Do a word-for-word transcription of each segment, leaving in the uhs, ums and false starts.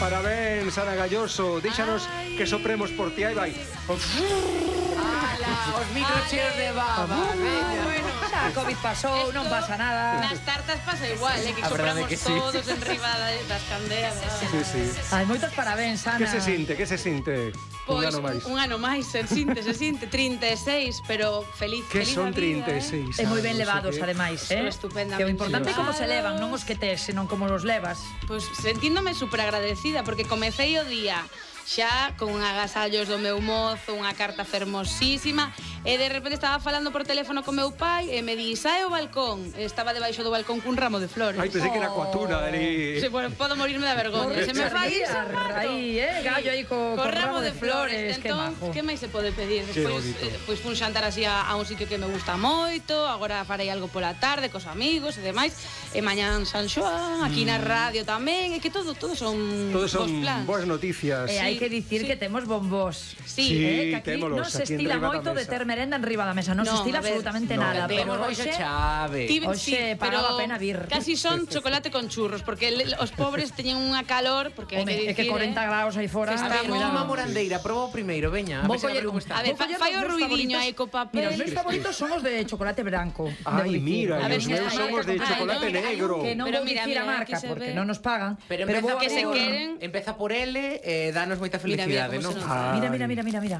Parabéns, Ana Galloso. Díxanos Ai. que sopremos por ti. Aí vai. Ala, os micros cheos de baba, veña. Bueno, Xa, a Covid pasou, non pasa nada. nas tartas pasa igual, eh, que A verdade sopramos que sí. todos en riba da- das candeas. Sí, sí. Ai, moitos parabéns, Ana. Que se sinte, que se sinte? Un Pois, ano máis. un ano máis, se sinte, se sinte, trinta e seis, pero feliz, Que feliz son a vida, trinta e eh. seis. E moi ben anos, levados, que- ademais, Son eh? estupendamente Que o importante é como se levan, levados. non os que tes, senón como os levas. Pois sentíndome super agradecida porque comecei o día xa con agasallos do meu mozo, unha carta fermosísima e de repente estaba falando por teléfono co meu pai e me di, sae ao balcón. E estaba debaixo do balcón cun ramo de flores. Ai, pensei que era coa tuna ali. Sí, bueno, podo morirme da vergonha. Se me fai iso, Aí, eh, gallo aí co, co co ramo de flores, que entón, majo. que máis se pode pedir? Que Despois, bonito. eh, pois fun xantar así a, a un sitio que me gusta moito, agora farei algo pola tarde cos amigos e demais, e mañán San Xoán, aquí na radio tamén, e que todo, todo son Todos son bons plans. boas noticias. E hai Sí, que dicir sí. que temos bombós. Sí, Sí, eh, que aquí témolos non se aquí estila enriba da moito de mesa. ter merenda en riba da mesa, non se Non, estila a ver, absolutamente no. nada, pero Temos hoxe hoxe chave. Ti- Hoxe pagaba pena vir. Casi son chocolate con churros, porque le- os pobres teñen unha calor, porque hai Home, que é que dicir, corenta eh, graus aí fora. que A ver, estamos- unha morandeira, proba o primeiro, veña. A Vou ver se coller como un- está. A ver, Vou fa- coller fai os o meus ruidiño favoritos. aí co papel. Mira, os meus favoritos son os de chocolate branco. Ai, debo dicir. mira, A e ver, os mira, meus son mira, os de mira, chocolate mira, negro. Que non Pero vou mira, dicir a mira, marca, aquí se porque ve. non nos pagan. Pero vou empeza a que se abrir un- queren. Empeza por L e danos moita Mira, mira felicidade, como non? se nota. Mira, mira, mira, mira, mira.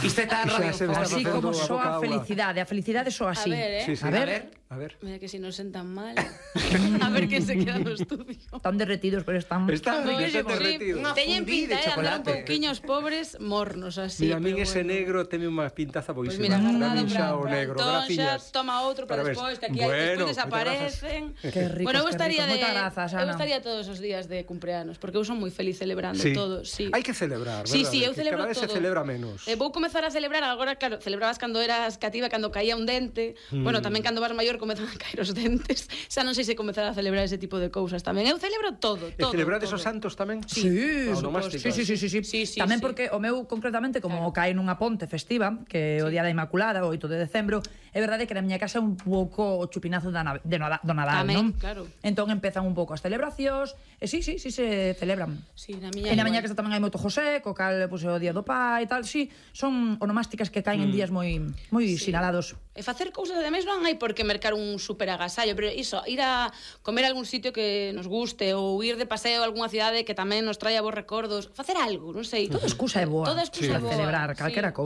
Isto é tan Xa se me está radiofónico. Así facendo como a boca soa a agua. felicidade, a felicidade soa así. A ver, eh. Sí, sí. A A ver. ver. A ver. Mira que si non sentan mal. A ver que se queda no estudio. Están derretidos, pero están... Están Pois, que están sí, derretidos. Unha Teñen fundí pinta, de eh, andar un chocolate. pouquiño os pobres mornos así. Mira, a min pero ese bueno. negro teme unha pintaza Pois boísima. mira, Dame guardado xa para, o para negro, Antoxa, graciñas. toma outro para Parabéns. despois, que aquí Bueno, despois moitas desaparecen. Qué ricos, Bueno, eu qué estaría ricos. de Moitas grazas, eu Ana. estaría todos os días de cumpleanos, porque eu son moi feliz celebrando Sí. todos, sí. Hai que celebrar, Sí, verdade? sí, eu Que celebro cada vez todo. se celebra menos. Eh, vou comezar a celebrar agora, claro, celebrabas cando eras cativa, cando caía un dente. Mm. Bueno, tamén cando vas maior comezan a caer os dentes. Xa non sei se comezar a celebrar ese tipo de cousas tamén. Eu celebro todo, E todo. celebrar todo. esos santos tamén? Sí, A sí, onomásticas. sí, sí, sí, sí. Sí, sí, Tamén sí. porque o meu concretamente como claro. Cae nunha ponte festiva, que é o día da Inmaculada, o oito de decembro, é verdade que na miña casa é un pouco o chupinazo da na- de Nada- do Nadal, Tamén, non? claro. Entón empezan un pouco as celebracións, e sí, sí, sí se celebran. Sí, na miña E na igual. miña casa tamén hai moito José, co cal pues, é o día do pai e tal, sí, son onomásticas que caen en días moi moi Sí. sinalados. E facer cousas, ademais, non hai por que mercar un super agasallo, pero iso, ir a comer a algún sitio que nos guste ou ir de paseo a algunha cidade que tamén nos traia bons recordos, facer algo, non sei. Toda excusa é boa. Toda excusa para é boa. celebrar Sí. calquera cousa.